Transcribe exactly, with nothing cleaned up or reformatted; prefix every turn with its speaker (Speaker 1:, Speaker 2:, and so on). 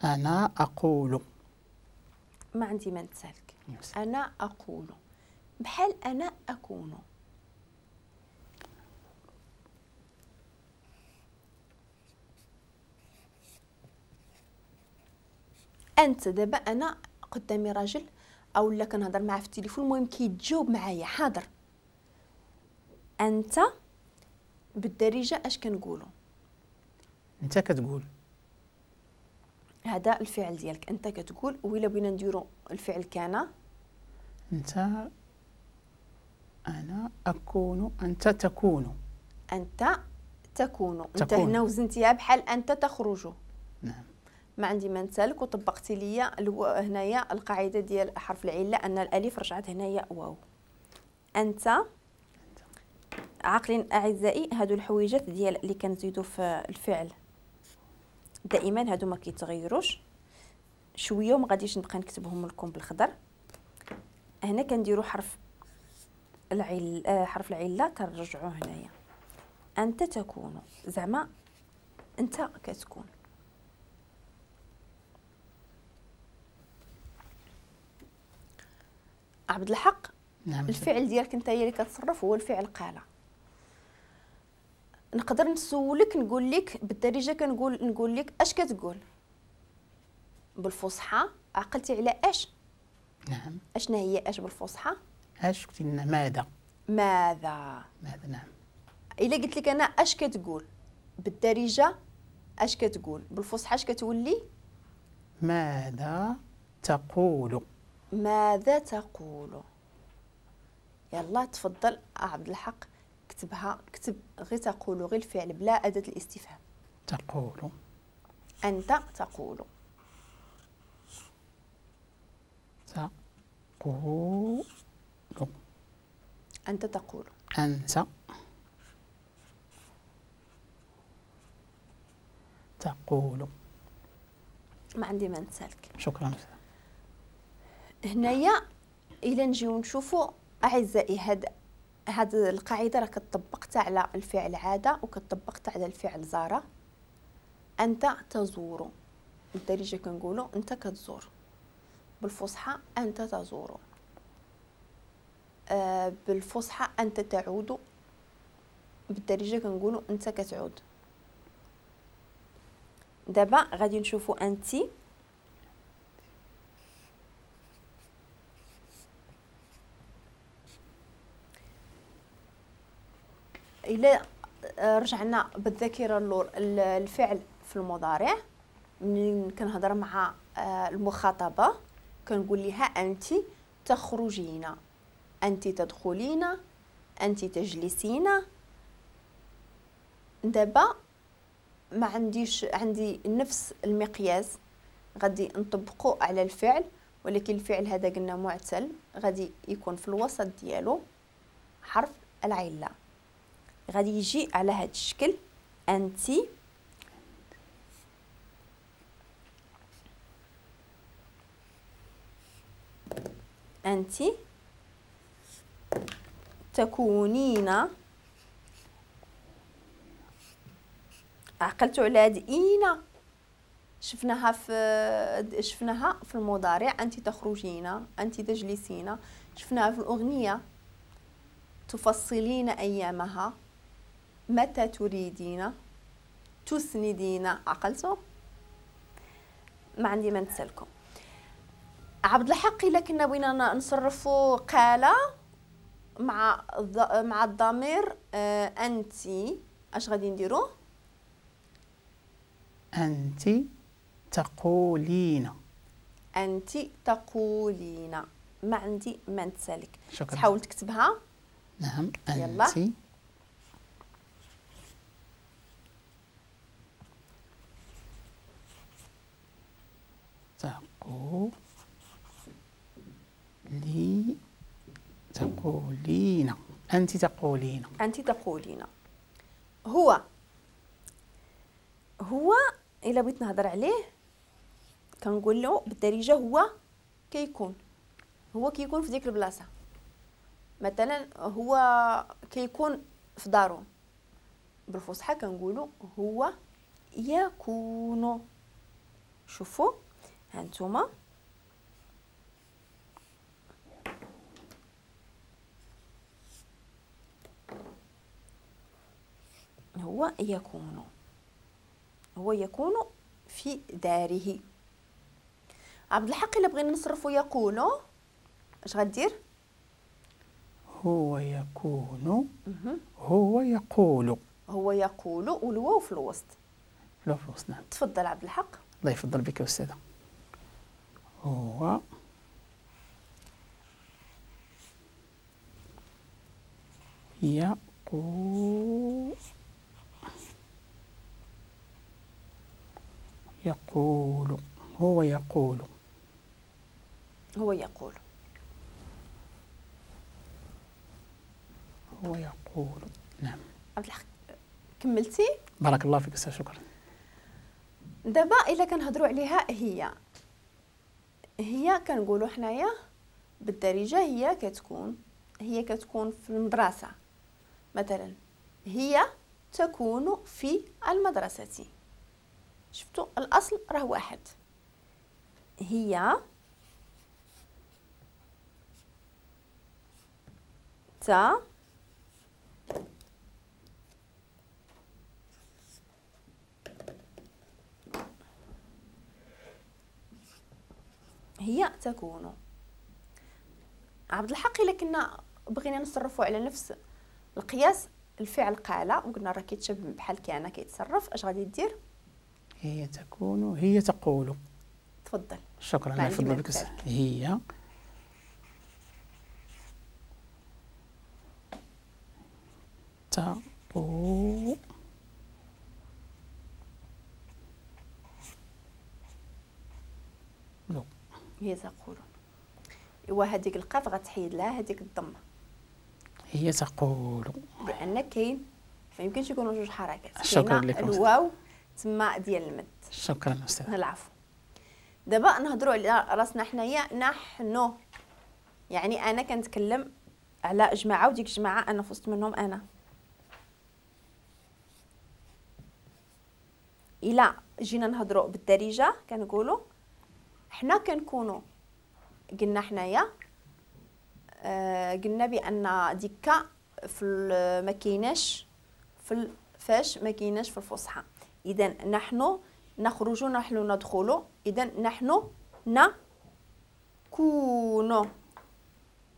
Speaker 1: أنا أقول.
Speaker 2: ما عندي ما نتسالك. أنا أقول بحال أنا أكون. أنت دابا أنا قدامي راجل أو لا كنهضر معاه في التليفون، المهم كيتجاوب معايا حاضر. أنت بالدارجة أش كنقولوا؟
Speaker 1: أنت كتقول.
Speaker 2: هذا الفعل ديالك أنت كتقول. وإلا بغينا نديرو الفعل كان،
Speaker 1: أنت أنا أكون، أنت تكون.
Speaker 2: أنت تكون. أنت هنا وزنتيها بحال أنت تخرج.
Speaker 1: نعم.
Speaker 2: ما عندي ما نسالك، وطبقتي ليا هنايا القاعدة ديال حرف العلة أن الألف رجعت هنايا واو. أنت عاقلين أعزائي هادو الحويجات ديال اللي كنزيدو في الفعل دائما هادو ما كيتغيروش شوية، وما غاديش نبقى نكتبهم لكم بالخضر. هنا كنديرو حرف العل حرف العلة كنرجعوه هنايا. أنت تكون، زعما أنت كتكون. عبد الحق،
Speaker 1: نعم.
Speaker 2: الفعل ديالك انت هي اللي كتصرف هو الفعل قال. نقدر نسولك نقول لك بالدارجة، كنقول نقول لك اش كتقول بالفصحى؟ عقلتي على اش؟
Speaker 1: نعم.
Speaker 2: اشنا هي اش بالفصحى؟
Speaker 1: اش قلتي لنا؟ ماذا.
Speaker 2: ماذا.
Speaker 1: ماذا، نعم.
Speaker 2: الا قلت لك انا اش كتقول بالدارجة، اش كتقول بالفصحى، اش كتولي؟
Speaker 1: ماذا تقول.
Speaker 2: ماذا تقول. يلا تفضل عبد الحق كتبها، كتب غير تقول، غير الفعل بلا أداة الاستفهام.
Speaker 1: تقول.
Speaker 2: أنت تقول.
Speaker 1: تقول.
Speaker 2: أنت تقول.
Speaker 1: أنت تقول.
Speaker 2: ما عندي ما نسالك.
Speaker 1: شكرا.
Speaker 2: هنايا إلا نجيو نشوفوا أعزائي هاد هاد القاعدة راه كتطبقت على الفعل عادة وكتطبقت على الفعل زارة. أنت تزور، بالدارجة كنقولوا أنت كتزور، بالفصحى أنت تزور، آه بالفصحى أنت تعود، بالدارجة كنقولوا أنت كتعود. دابا غادي نشوفوا أنت. إلا رجعنا بالذاكرة اللور الفعل في المضارع، منين كنهضر مع المخاطبة كنقول لها أنت تخرجين، أنت تدخلين، أنت تجلسين. دابا ما عنديش، عندي نفس المقياس غادي نطبقو على الفعل، ولكن الفعل هذا قلنا معتل غادي يكون في الوسط ديالو حرف العلة، غادي يجي على هذا الشكل أنت أنت تكونين. عقلتوا على هاد إينا، شفناها في شفناها في المضارع أنت تخرجين، أنت تجلسين، شفناها في الأغنية تفصلين أيامها، متى تريدين، تسندين. عقلتوا؟ ما عندي ما نتسالكم. عبد الحق إلا كنا بغينا نصرفوا قال مع مع الضمير آه أنت، اش غادي نديرو؟
Speaker 1: أنت تقولين.
Speaker 2: أنت تقولين. ما عندي ما نتسالك.
Speaker 1: شكرا.
Speaker 2: تحاول تكتبها.
Speaker 1: نعم. أنت
Speaker 2: يلا.
Speaker 1: تقولي تقولين. أنت تقولين.
Speaker 2: أنت تقولين. هو هو إلا بغيت نهضر عليه كنقول له بالدارجة هو كيكون، هو كيكون في ديك البلاصة. مثلا هو كيكون في دارو، بالفصحى كنقولوا هو يكون. شوفوا هانتوما هو يكون، هو يكون في داره. عبد الحق الا بغينا نصرفوا يكون اش غدير؟
Speaker 1: هو يكون، هو يقول،
Speaker 2: هو يقول والواو في الوسط.
Speaker 1: الواو في الوسط نعم.
Speaker 2: تفضل عبد الحق.
Speaker 1: الله يفضل بك يا أستاذة. هو يقول، يقول، هو يقول،
Speaker 2: هو يقول،
Speaker 1: هو يقول. نعم
Speaker 2: عبد الحق كملتي؟
Speaker 1: بارك الله فيك أستاذ، شكرا.
Speaker 2: دابا الا كنهضروا عليها هي، هي كنقولوا حنايا بالدارجة هي كتكون، هي كتكون في المدرسة مثلا، هي تكون في المدرسة. شفتوا الاصل راه واحد، هي تا هي تكون. عبد الحق الا كنا بغينا نصرفوا على نفس القياس الفعل قال وقلنا راه كيتشبه بحال كان كيتصرف، اش غادي دير؟
Speaker 1: هي تكون، هي تقول.
Speaker 2: تفضل.
Speaker 1: شكرا، الله يفضل بك. هي تقول،
Speaker 2: هي تقول. ايوا هذيك القاف غتحيد لها هذيك الضمة.
Speaker 1: هي تقول
Speaker 2: لان كاين ما يمكنش يكونوا جوج حركات.
Speaker 1: شكرا لكم.
Speaker 2: الواو تما ديال المد.
Speaker 1: شكرا استاذ.
Speaker 2: العفو. دابا نهضروا على راسنا حنايا نحن، يعني انا كنتكلم على جماعة وديك الجماعة انا في وسط منهم انا. الا جينا نهضروا بالدارجة كنقولوا حنا كنكونوا قلنا حنايا آه قلنا بان ديك في ما كايناش في فاش ما كايناش في الفصحى. اذا نحن نخرج، نحن ندخل، اذا نحن نكون.